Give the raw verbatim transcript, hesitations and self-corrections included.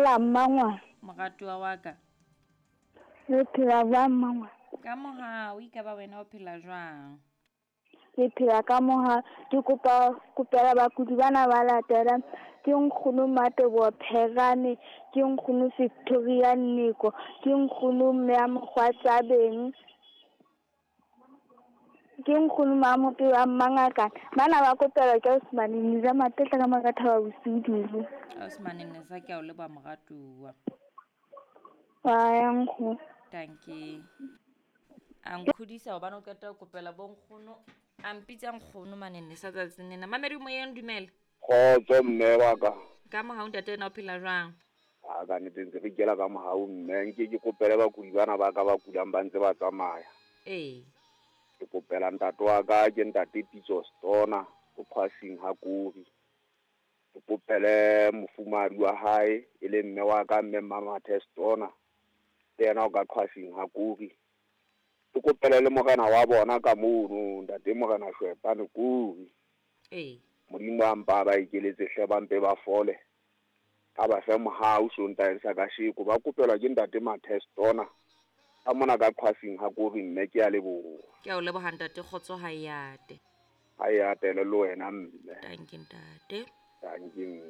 Dumela mmangwana. Moratuwa wa ka. Le phela jwang mmangwana? Ka mohau, ekaba wena o phela jwang? Ke phela ka mohau. Ke kopa kopela bakudi bana ba latelang. Ke nkgono Mateboho Pherane, ke nkgono Victoria Nniko, ke nkgono mme ya Mokgwatsabeng, ke nkgono Mamope wa Mmangakane. Bana ba kopelwa ke Osmane Nisa Matetla ka mora Thaba bosiu dijo. Osmane Nisa, ke a o leboha moratuwa. Wa ya nkgono. Dankie. A nkgodisa hobane o qeta ho kopela bo nkgono. A mpitsa nkgono mane Nisa tsatsing lena. Mamedi moyeng, dumela. Kgotso mme wa ka. Ka mohau ntate, wena o phela jwang? A ka nnete ntse re ikela ka mohau mme. Nke ke kopele bakudi bana ba ka ba kulang ba ntse ba tsamaya. Ee. Ke kopela ntate wa ka, ke ntate Pitso Stona, o Phasing ha Kori. Ke kopele mofumahadi wa hae, e leng mme wa ka, mme Mmamathe Stona, le yena o ka Qhwasing ha Kori. Ke kopele le morena wa bona ka mono, ntate Morena Shwepane Kori. Ee. Modimo a mpa ba ikeletse hle, ba mpe ba fole. A ba fe mohau Sontaheng sa kasheko. Ba kopelwa ke ntate Mathe Stona ka mona ka Qhwasing ha Kori mme, ke a leboha. Ke a o leboha ntate, kgotso ha e ate. Ha e atele le wena mme. Dankie ntate. Dankie mme.